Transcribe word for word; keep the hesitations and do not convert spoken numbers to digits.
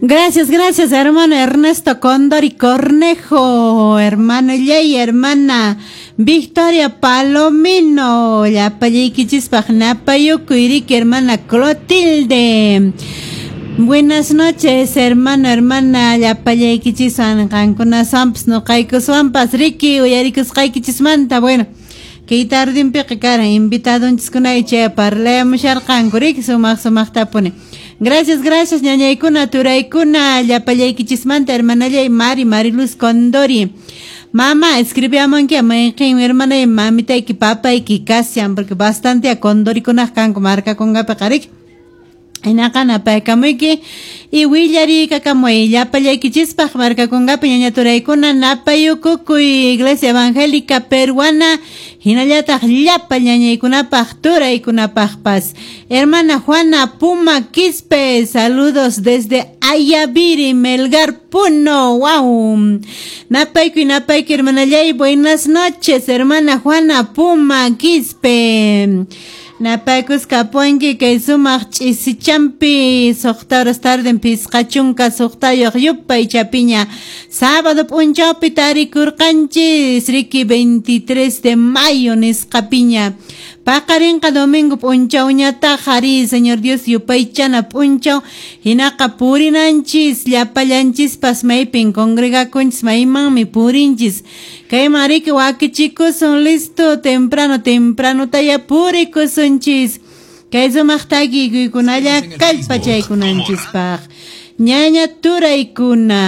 Gracias, gracias, hermano Ernesto Condori Cornejo, hermano Yey, hermana Victoria Palomino, llapallaykichispaq napayukuy riki, hermana Clotilde. Buenas noches, hermano, hermana, llapallaykichis qankunaswanpas nuqaykuswanpas riki uyarikusqaykichismanta. Bueno, kay tardinpiqa karan invitadonchiskunay chay parlayamusharqanku riki sumaq sumaqtapuni. Gracias, gracias, ñañaykuna, turaykuna, llapallaykichismanta, hermanallay Mari, Mariluz Condori. Mamá, escribiamanki mayqin hermanay mamitayki papayki kashan, porque bastante a Condorikunaq kanku markakunqapiqa riki. Hinaqa napaykamuyki y willariykamuy llapallaykichispaq markakunqapi ñaña turaykuna napayukukuy Iglesia Evangélica Peruana hinallataq llapa ñañaykunapaq turaykunapaqpas. Hermana Juana Puma Quispe, saludos desde Ayaviri, Melgar, Puno. Wow. Napaykuy, napaykuy, hermanallay, buenas noches, hermana Juana Puma Quispe. Napaykuskapunki kay sumaq ch'isichampi suqta horas tarden pisqa chunka suqtayuq yupay chapiña sábado p'unchawpi tarikurqanchis riki veintitrés de mayo nisqapiña paqarinqa domingo p'unchawñataq ari Señor Dios yupaychana p'unchaw hinaqa purinanchis llapallanchispas maypin congregakunchis maymanmi purinchis kayman riki wakichikusun listo temprano temprano taya purikusunchis kay sumaq takikuykunalla kallpachaykunanchispaq ñaña turaykuna.